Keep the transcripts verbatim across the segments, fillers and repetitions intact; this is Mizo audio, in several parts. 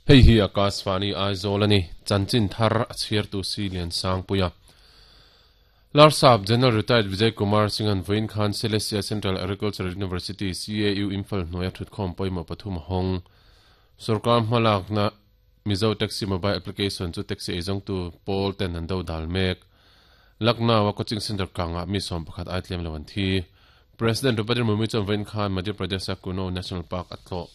Hei hi Akashvani Aizawl ani chanchin thar a chhiar tu si lian sang puia Larsap General Retired Vijay Kumar Singh an voin khan Celestia Central Agricultural University C A U Imphal hnuaia thutkhawm pawimawh pathum a hawng. Sorkar hmalakna Mizo Taxi Mobile Application chu taxi eizawngtu pawl ten an do dal mek. Lucknow a coaching center kanga mi sawm pakhat ai tlem lo an thi. President Draupadi Murmu chuan voin khan Madhya Pradesh a Kuno National Park a tlawh.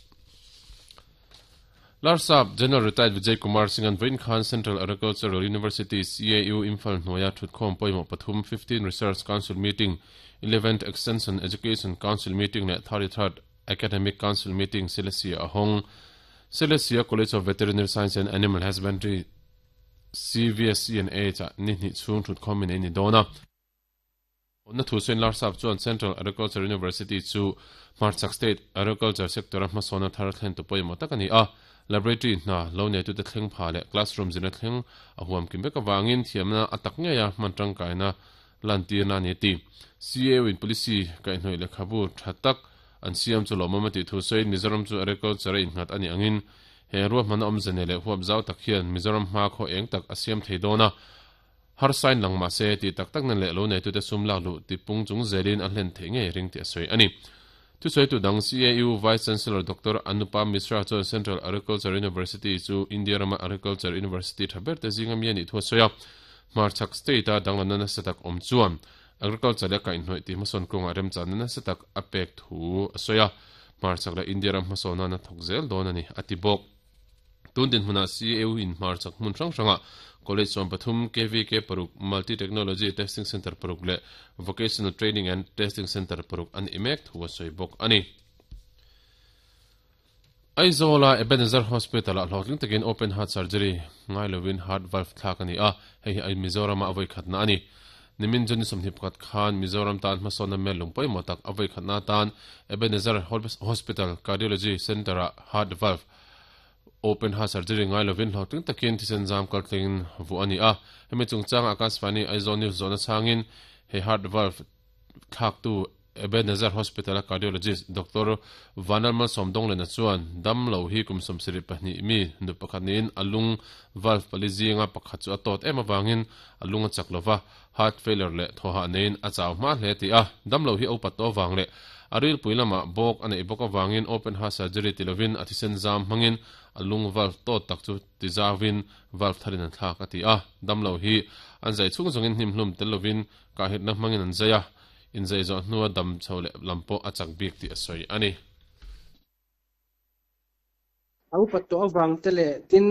Larsap General Retired Vijay Kumar Singh an voin khan Central Agricultural University C A U Imphal hnuaia thutkhawm pawimawh pathum fifteen Research Council Meeting, eleventh Extension Education Council Meeting leh thirty-third Academic Council Meeting Celestia a hawng. Celestia College of Veterinary Science and Animal Husbandry C V S C and A cha ni hnih chhung thutkhawm in ei ni dawn a. Na thu sawiin Larsap chuan Central Agriculture University chu Hmarchak State Agriculture Sector a hmasawna thar thlen tu pawimawh tak a ni a. Laboratory hna lo nei tute thleng pha leh classroom zirna thleng a huam kim vek awangin thiamna a tak ngei a hman tangkaina lan tirna a ni ti. C A U in policy kaihhnawih lehkhabu tha tak an siam chu lawmawm a tih thu sawiin Mizoram chu agriculture a innghat a ni angin he ruahman a awm zane leh huap zau tak hian Mizoram hma khaw eng tak a siam thei dawn a. Har sign lang ma se ti tak tak na leh lo nei tute sum lak lu ti pung chung zelin a hlen thei ngei ring ti a sawi a ni. Thu sawi tu dang C A U Vice Chancellor Doctor Anupam Mishra chuan Central Agriculture University chu India rama Agriculture University tha ber te zinga mi ani thu a sawi a. Hmarchak state a danglamna nasa tak awm chuan agriculture le kaihhnawih ti hmasawn kawnga remchanna nasa tak a pek thu a sawi a. Hmarchak leh India ram hmasawna na thawk zel dawn a ni a ti bawk. Tun din hmunah C A U in hmarchak hmun hrang hranga College sawm pathum K V K paruk Multi Technology Testing Center paruk leh Vocational Training and Testing Center paruk an imek thu a sawi bawk a ni. Aizawl a Ebenezer Hospital a hlawhtling takin open heart surgery ngai lovin heart valve thlak a ni a, hei hi Mizoram a avai khatna a ni. Nimin Juni sawmhnih pakhat khan Mizoram tan hmasawna mel lung pawimawh tak avai khatna tan Ebenezer Hospital Cardiology Center a heart valve open heart surgery ngai lovin hlawhtling takin thisen zam kaltlingin vu a ni a. Hemi chungchang Akashvani Aizawl News zawhna changin he heart valve thlak tu Ebenezer Hospital a cardiologist Doctor Vanalmal Somdonglena chuan dam lo hi kum sawmsarih pahnih mi nu pakhat niin a lung valve pali zinga pakhat chu a tawt em awangin a lung a chak lova heart failure leh thawhah neiin a chau hma hle ti a. Dam lo hi opat to awang leh a rilpui lama bawk a neih bawk awangin open heart surgery ti lovin a thisen zam hmangin a lung valve tawt tak chu ti zawin valve tharin an thlak a ti a. Dam lo hi an zai chung zawngin hnim hlum tel lovin kahhitna hmangin an zai a. In zai zawh hnua dam chho leh lam pawh a chak bik tih a sawi a ni. A upat tawh awang te leh tin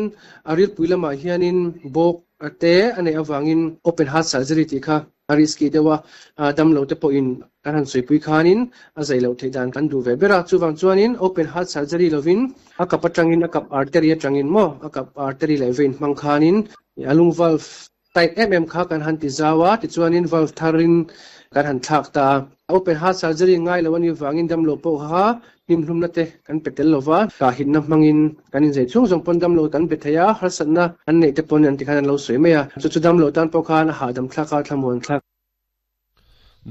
a rilpui lamah hianin bawk te a neih awangin open heart surgery tih kha a risky deuh a, dam lo te pawhin kan han sawipui khanin a zai loh theih dan kan duh ve ber a. Chuwang chuanin open heart surgery lovin a kap atangin a kap artery atangin maw a kap artery leh vein hmang khanin a lung valve tight em em kha kan han ti zawa ti chuanin valve tharin kan han thlak ta. Open heart surgery ngai lo ani wangin dam lo pawh kha hnim hlumna te kan petel lova ka hitna hmangin kan in zai chung zawng pawn dam lo kan be thei a, harsatna an neih te pawn an ti khan an lo sawi mai a. Chu chu dam lo tan pawh khan a hahdam thlak a, thlamuan thlak.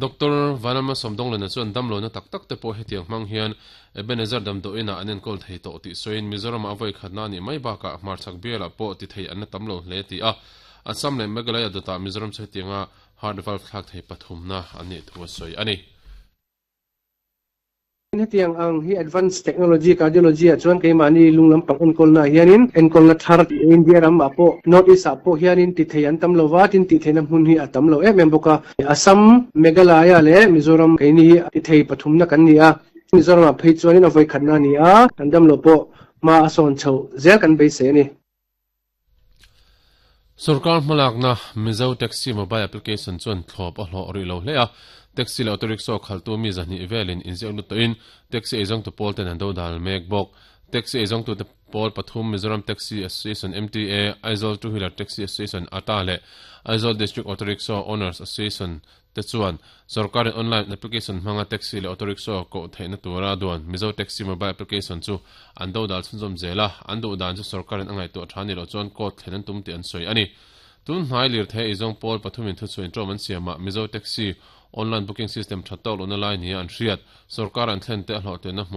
Doctor Vanalma Somdonglena chuan dam lo na tak tak te pawh hetiang hmang hian Ebenezer damdawiin an enkawl thei tawh tih sawiin Mizoram a avai khatna ni mai bakah hmarchak bialah pawh ti thei an na tam lo hle ti a. Assam leh Meghalaya dawtah Mizoram chu hetianga heart valve thlak thei pathumna an nih thu a sawi a ni. Hetiang ang hi advanced technology cardiology a chuan keimahni lung lampang enkawlna hianin enkawlna thar India ram ah pawh North East ah pawh hianin ti thei an tam lova tin ti theihna hmun hi a tam lo em em bawk a. Assam, Meghalaya leh Mizoram keini hi ti thei pathumna kan ni a. Mizoram ah phei chuanin a vawi khatna a ni a, kan dam lo pawh hma a sawn chho zel kan beisei a ni. Sarkar hmalakna Mizo Taxi Mobile Application chuan thlawp a hlawh ri lo hle a. Taxi leh auto rickshaw khaltu mi zahnih velin inziak lut tawhin taxi eizawng tu pawl ten an do dal mek bawk. Taxi eizawng tu te pawl pathum Mizoram Taxi Association M T A, Aizawl Two Wheeler Taxi Association A T A leh Aizawl District Auto Rickshaw Owners Association te chuan sarkarin online application hmanga taxi leh auto rickshaw koh theihna tura duan Mizo Taxi Mobile Application chu an do dal chhunzawm zel a, an duh dan chu sarkarin a ngaihtuah tha ni lo chuan court thlen an tum tih an sawi a ni. Tun hnai lir thei eizawng pawl pathumin thu chuin ṭawm an siamah Mizo Taxi online booking system tha tawk lohna lai ni a an hriat sarkar an thlen te a hlawh tlenna hmu